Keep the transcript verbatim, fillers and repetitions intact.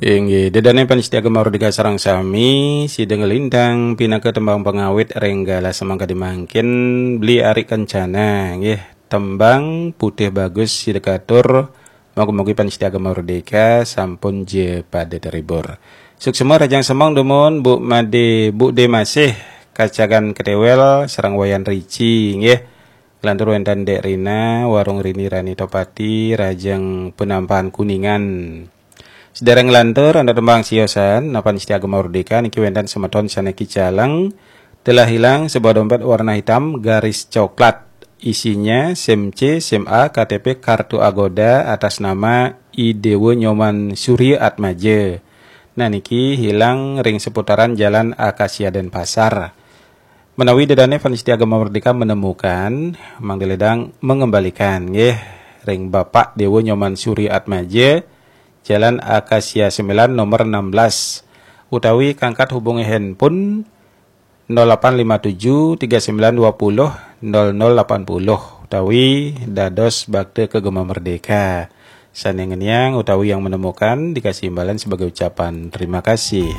Inggih, dedane pamiarsa Gema Merdeka sareng sami, sida nglintang pinaka tembang pangawit ring galah semangkadi mangkin, Beli Ari Kencana, nggih, tembang Putih Bagus sida katur, moga-moga pamiarsa Gema Merdeka sampun ja pada terhibur. Suksma rahajeng semeng dumun, Bu Made, Bu De Masih, Kacagan Ketewel, sareng Wayan Rici, nggih. Nglantur wenten Dek Rina, Warung Rini Rani Topati, rahajeng Penampahan Kuningan. Sedereng nglantur, antuk tembang siosan, napan Setia Gema Merdeka, niki wenten semeton sane kicaleng, telah hilang sebuah dompet warna hitam garis coklat. Isinya SIM C, SIM A, K T P, kartu Agoda atas nama I Dewa Nyoman Surya Atmaja. Nah, niki hilang ring seputaran Jalan Akasia Denpasar. Menawi dedane pamiarsa Gema Merdeka menemukan, mangda ledang mengembalikan, nggih, ring Bapak Dewa Nyoman Surya Atmaja, Jalan Akasia sembilan, nomor enam belas, utawi kangkat hubungi handphone nol delapan lima tujuh tiga sembilan dua puluh nol nol delapan puluh, utawi dados bakta ke Gema Merdeka. Sane ngeniang utawi yang menemukan dikasih imbalan sebagai ucapan terima kasih.